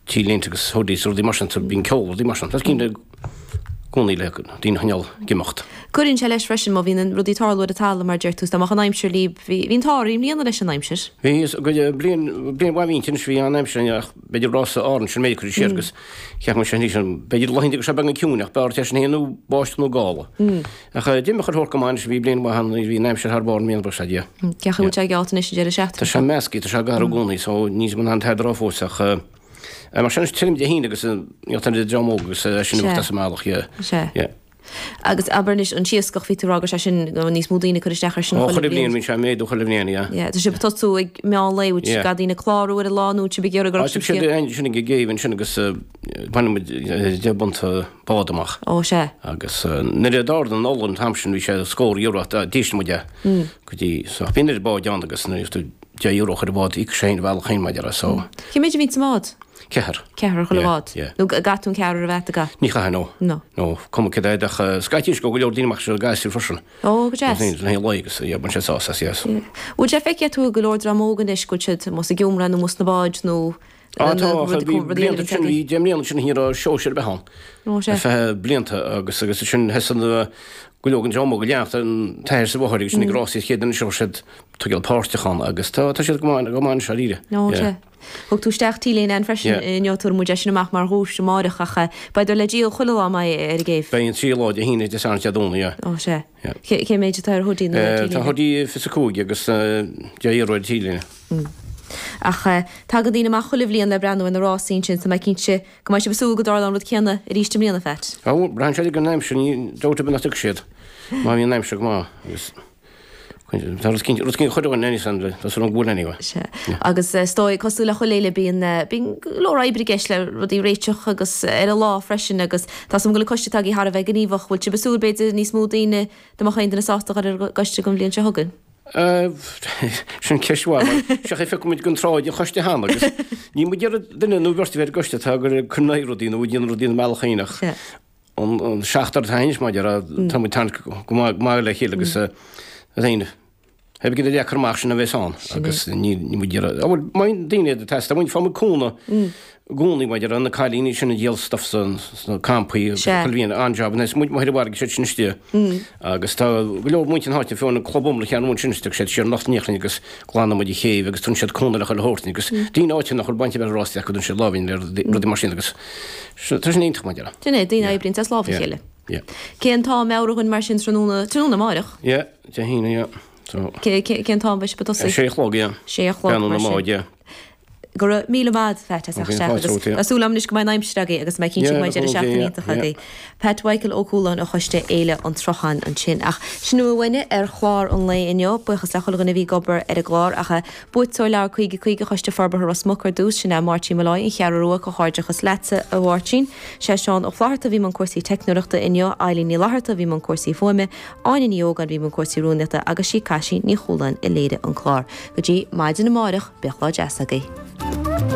T-léinte agus hoodies rudaí mar sin, so bíonn ceol rudaí mar sin. Tá cinnte i gcónaí le daoine a choinneáil ag imeacht. Cuireann sé leis freisin má bhíonn rudaí ag tarlú ar an talamh mar a deir tú, is dá mbeadh an aimsir libh, bhí an t-ádh oraibh i mbliana leis an aimsir. Bhí, is bliain, bliain mhaith a bhí inti anois, bhí an-aimsir ann ach b'fhéidir rása Árann sin méid curtha siar agus cheap mé sin arís, b'fhéidir laethanta go raibh sé beagán ciúin ach b'fhearr é sin féin nó báisteach nó gála. Ach d'imigh chuile shórt go maith anois, bhí bliain mhaith ann, bhí an aimsir thar barr i mbliana, buíochas le Dia. Cén chaoi a bhfuil sé geallta anois an deireadh seachtaine Tá sé measctha, tá sé ag athrú i gcónaí so níl mé in ann tada a rá fós ach mar sin is tirim Dé hAoine agus níl an dream óg agus sin imeacht as an mbealach, yeah. Sea. Yeah. Agus abair anois an t-iascach, bhí tú ag rá go raibh sé sin, go raibh níos mó daoine ag cur isteach air sin Ó, chuile bhliain bíonn sé ag méadú chuile bhliain, yeah. Yeah, tá sibh ag tosú ag meán lae, bhfuil Yeah. gach daoine ag clárú ar an lá nó sibh ag iarraidh go Á, raibh tig siad ansin ag an gcéibh ansin agus baineann muid 10 bpunt bád amach. Ó, sea. Agus nuair a d'ardaigh an ola an t-am sin bhí sé scór euro ach d'ísligh muid é go dtí so bhí an oiread báid ann agus nuair a bhí tú €10 a chur i bhád íocadh sé féin a bhealach féin maidir le so. Cé méid a bhíonn sa mbád? Ceathrar. Ceathrar chuile bhád? Yeah. Nó gcaithfidh tú an ceathrar a bheith agat? Ní chaithfidh, no. No. No, cuma cé acu ach scaití is go go leor daoine amach seo gasúir freisin. Ó, go deas. Le haghaidh lae agus yeah, baineann sé sásamh as, yes. Yeah. Bhfuil sé feicthe agat go leor dream óg anois go bhfuil siad amuigh sa ghiúmra nó amuigh sna báid nó Á tá, bhí blianta sin, bhí 10 mbliana sin ní raibh sóisear ar bith ann. Ó, sea. Ar feadh blianta agus agus sin thosaigh na go leor den dream óg ag leanacht an t-athair is an mháthair agus sin ag rásaí chéad duine seo siad tógáil páirteach ann agus tá tá siad go maith go maith anois dáiríre. Ó, sea. Thug tú isteach T-léine ann freisin inniu, tabharfaidh muid é sin amach mar dhuais amáireach ach beidh le díol chuile lá an mbeidh ar an gcéibh. Beidh an trí lá, Dé hAoine, Dé Sathairn, Dé Domhnaigh, yeah. Ó, sea. Cé cé méid atá ar hoodie nó ar T-léine? Tá hoodie 25 agus €10 ar T-léine. Ach tagann daoine amach chuile bhliain le breathnú ar na rásaí ansin so mé cinnte go mbeidh sibh ag súil go dtarlóidh an rud céanna arís i mbliana, Phat. Ó, braitheann sé ar an aimsir, ní dabht ar bith nach dtiocfaidh siad má bhíonn an aimsir go maith agus tá rud cinnte, rud cinnte chuile dhuine níos an tá súil agam go bhfuil anyway. Sea. Agus is dóigh, cosúil le chuile fhéile, bíonn, bíonn go leor oibre i gceist le rudaí a réiteach agus ar an lá freisin agus tá súil agam go bhfuil an coiste atá agaibh thar a bheith gníomhach. Bhfuil sibh ag súil b'fhéidir níos mó daoine, dá mbeadh aon duine sásta a dhul ar an gcoiste don bhliain seo chugainn? Sin ceist mhaith mar seach é phioc muid den tsráid an choiste cheana agus níl muid ag iarraidh duine nó beirt a bheith ar an gcoiste atá ag cur in aghaidh rudaí nó ag déanamh rudaí ina mbealach féin ach an seachtar atá anois mar a déarfá tá muid tarraingt go maith le chéile agus féin Heb go deacair amach sin a bheas ann agus ní muid ag iarraidh bhuel má bhíonn daoine ag teastáil muid faighimid cúnamh i gcónaí maidir le na cailíní sin a dhíol stuff sna campaí chuile bhliain an-job anois muid amuigh ar an bhfarraige siad sin istigh agus tá go leor muintir na háite fiú an club iomlán cheann sin istigh siad siar anocht in Íochlainn agus glanann muid an chéibh agus tugann siad cúnamh le chuile shórt agus daoine áite nach bhfuil baint ar bith rásaí acu tugann siad lámh le rudaí mar sin agus tá sin iontach mar a déarfá. Sin é, daoine a oibríonn as lámh a chéile. Cén t-am meabhraigh dhúinn mar sin tráthnóna, tráthnóna amáireach? Yeah, Dé hAoine, yeah. So. Cén t-am a bheidh sibh ag tosaí? A sé a chlog, yeah. Sé a chlog, mar sin. Beannú na yeah. Go raibh míle maith agat, Pat, as theacht isteach agus tá súil agam anois go mbeidh an aimsir agaibh agus mé cinnte go mbeidh deireadh seachtaine iontach agaibh. Pat Mhichael Ó Cualáin ó Choiste Fhéile an tSrutháin ansin. Ach sin a bhfuil uainne ar chlár an lae inniu. Buíochas le chuile dhuine a bhí ag obair ar an gclár ach buaiteoir leabhar 50 50 Choiste Forbartha Ros Muc ar dtús, sin é Máirtín Molloy, An Cheathrú Rua, Comhghairdeachas leatsa, a Mháirtín. Sé Seán Ó Flatharta a bhí i mbun cúrsaí teicneoireachta inniu, Eilín Ní Fhlatharta a bhí i mbun cúrsaí fuaime, Áine Ní Ógáin a bhí i mbun cúrsaí rúnaíochta agus sí Caisín Ní Chualáin a léirigh an clár. Go dtí maidin amáireach, bíodh lá deas agaibh.